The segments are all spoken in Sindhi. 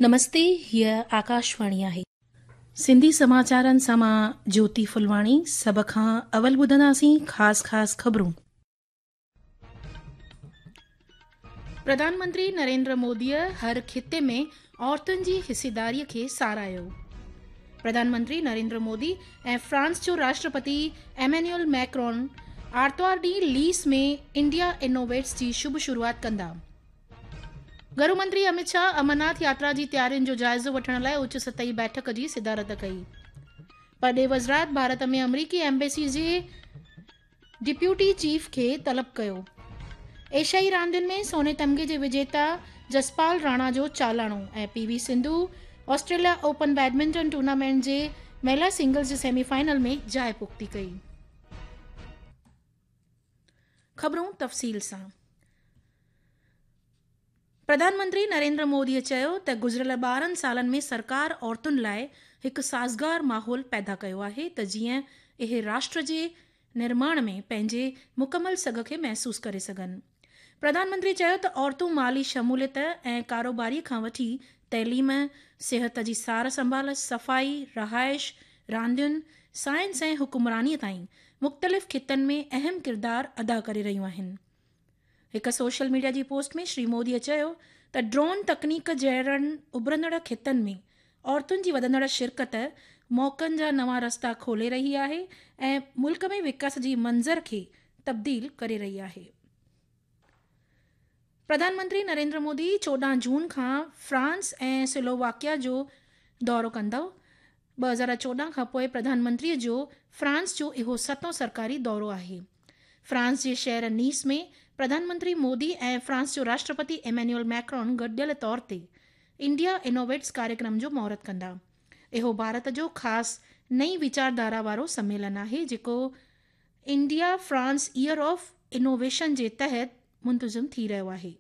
نمستي هيء آڪاشواڻي آهي. سنڌي سماچارن سان مان جوتي ڦلواڻي سڀ کان اول ٻڌنداسين خاص خاص خبرون. پرڌان منتري نريندر موديء هر خطي ۾ عورتن جي حصيداري کي ساراهيو. پرڌان منتري نريندر مودي ۽ فرانس جو راشٽرپتي ايمينيول ميڪرون آرتوار ڏينهن ليس ۾ انڊيا انوويٽس جي شڀ شروعات ڪندا. گهرو منتري امت شاهه امرناٿ ياترا جي تيارين جو جائزو وٺڻ لاء اچ سطحي بيٺڪ جي صدارت ڪئي. پرڏيهه وزارت ڀارت ۾ آمريڪي ايمبيسي جي ڊپيوٽي چيف کي طلب ڪيو. ايشيائي راندين ۾ سوني تمغي جي وجيتا جسپال راڻا جو چالاڻو ۽ P V Sindhu Australia open badminton tournament جي مهلا سنگلز جي سيمي فائنل ۾ جاء پختي ڪئي. خبرون تفصيل سان. پرڌان منتري نريندر مودي چيو ته گذريل 12 سالن ۾ سرڪار عورتن لاء هڪ سازگار ماحول پيدا ڪيو آهي ته جيئن اهي راشٽر جي نرماڻ ۾ پنهنجي مڪمل سگهه کي محسوس ڪري سگهن. پرڌان منتري چيو ته عورتون مالي شموليت ۽ ڪاروباري کان وٺي تعليم، صحت جي سار سنڀال، صفائي، رهائش، راندين، سائنس ۽ حڪمراني تائين مختلف خطن ۾ اهم ڪردار ادا ڪري رهيون آهن. هڪ سوشل ميڊيا جي پوسٽ ۾ شري مودي چيو ته ڊرون تڪنيڪ جهڙن اڀرندڙ خطن ۾ عورتن جي وڌندڙ شرڪت موقعن جا نوان رستا کولي رهي آهي ۽ ملڪ ۾ وڪاس جي منظر کي تبديل ڪري رهي آهي. پرڌان منتري نريندر مودي 14 جون کان فرانس ۽ سلوواڪيا جو دورو ڪندو. 2014 کان پوء پرڌان منتري جو فرانس جو اهو ستون سرڪاري دورو آهي. فرانس جي شهر نيس ۾ پرڌان منتري مودي ۽ فرانس جو راشٽرپتي ايمينيول ميڪرون گڏيل طور تي انڊيا انوويٽس ڪاريڪرم جو مهورت ڪندا. اهو ڀارت جو خاص نئين ويچارڌارا وارو سميلن آهي جيڪو India France year of innovation جي تحت منتظم ٿي رهيو آهي.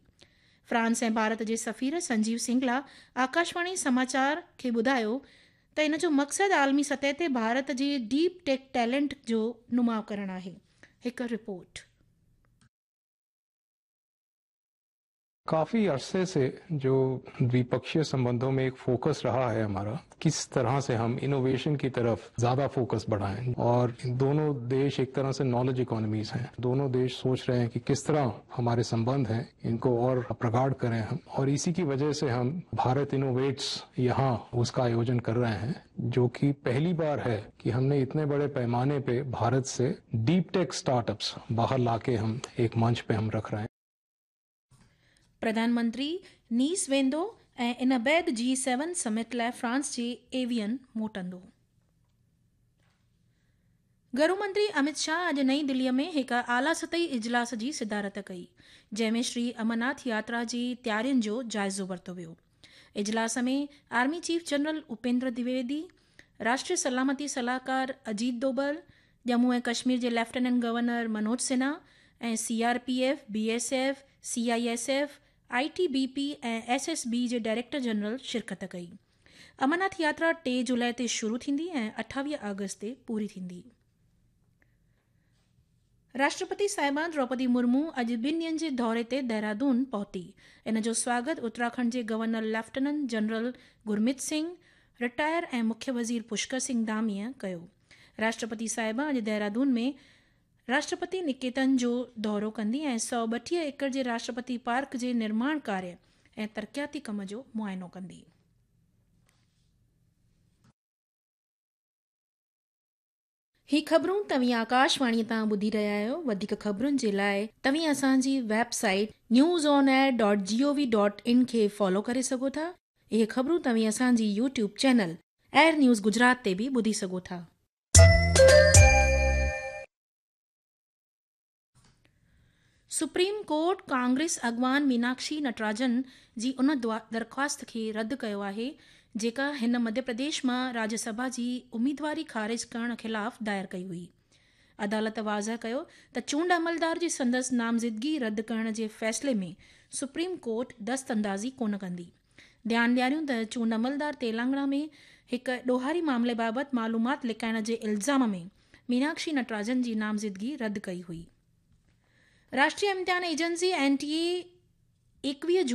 فرانس ۽ ڀارت جي سفير سنجيو سنگلا آڪاشواڻي سماچار کي ٻڌايو ته ان جو مقصد عالمي سطح تي ڀارت جي ڊيپ ٽيڪ ٽيلنٽ جو نماء ڪرڻ آهي. هڪ رپورٽ. काफी अरसे से जो द्विपक्षीय संबंधों में एक फोकस रहा है हमारा, किस तरह से हम इनोवेशन की तरफ ज्यादा फोकस बढ़ाएं, और दोनों देश एक तरह से नॉलेज इकोनॉमीज हैं। दोनों देश सोच रहे हैं कि किस तरह हमारे संबंध हैं इनको और प्रगाढ़ करें हम, और इसी की वजह से हम भारत इनोवेट्स यहाँ उसका आयोजन कर रहे हैं, जो कि पहली बार है कि हमने इतने बड़े पैमाने पे भारत से डीप टेक स्टार्टअप्स बाहर लाके हम एक मंच पे हम रख रहे हैं। پرڌان منتري نيس ويندو ۽ ان بعد جي سيون سمٽ لاء فرانس جي ايوين موٽندو. گهرو منتري امت شاهه اڄ نئين دلي ۾ هڪ اعليٰ سطحي اجلاس جي صدارت ڪئي، جنهن ۾ شري امرناٿ ياترا جي تيارين جو جائزو ورتو ويو. اجلاس ۾ army chief general Upendra Dwivedi, راشٽري سلامتي صلاحڪار اجيت دوبل، ڄمون ۽ ڪشمير جي lieutenant governor Manoj Sinha ۽ C R P F, B S F, C I S F, I T B P ۽ S S B جي ڊائريڪٽر جنرل شرڪت ڪئي. امرناٿ ياترا 3 جولاء تي شروع ٿيندي ۽ 28 آگسٽ تي پوري ٿيندي. راشٽرپتي صاحبه دروپدي مرمو اڄ ٻن ڏينهن جي دوري تي دهرادون پهتي. ان جو سواگت اتراکنڊ جي governor lieutenant general Gurmeet Singh, retire, ۽ مکيه وزير پشڪر سنگهه ڌاميء ڪيو. راشٽرپتي صاحبه اڄ دهرادون ۾ راشٽرپتي نڪيتن جو دورو ڪندي ۽ 132 ايڪڙ جي راشٽرپتي پارڪ جي نرماڻ ڪاريه ۽ ترقياتي ڪم جو معائنو ڪندي. هي خبرون توهين آڪاشواڻي تان ٻڌي رهيا آهيو. وڌيڪ خبرن جي لاء توهين اسان جي website news on air dot G O V dot in کي فالو ڪري سگهو ٿا. اهي خبرون توهين اسان جي YouTube channel air news Gujarat تي به ٻڌي سگهو ٿا. سپريم ڪورٽ ڪانگريس اڳواڻ ميناڪشي نٽراجن جي ان درخواست کي رد ڪيو آهي جيڪا هن مڌيه پرديش مان راجيه سڀا جي اميدواري خارج ڪرڻ خلاف دائر ڪئي هئي. عدالت واضح ڪيو ته چونڊ عملدار جي سندس نامزدگي رد ڪرڻ جي فيصلي ۾ سپريم ڪورٽ دست اندازي ڪونه ڪندي. ڌيان ڏياريون ته چونڊ عملدار تيلانگڻا ۾ هڪ ڏوهاري معاملي بابت معلومات لڪائڻ جي الزام ۾ ميناڪشي نٽراجن جي نامزدگي رد ڪئي هئي. راشٽريه امتحان ايجنسي، اين ٽي اي، 21 جون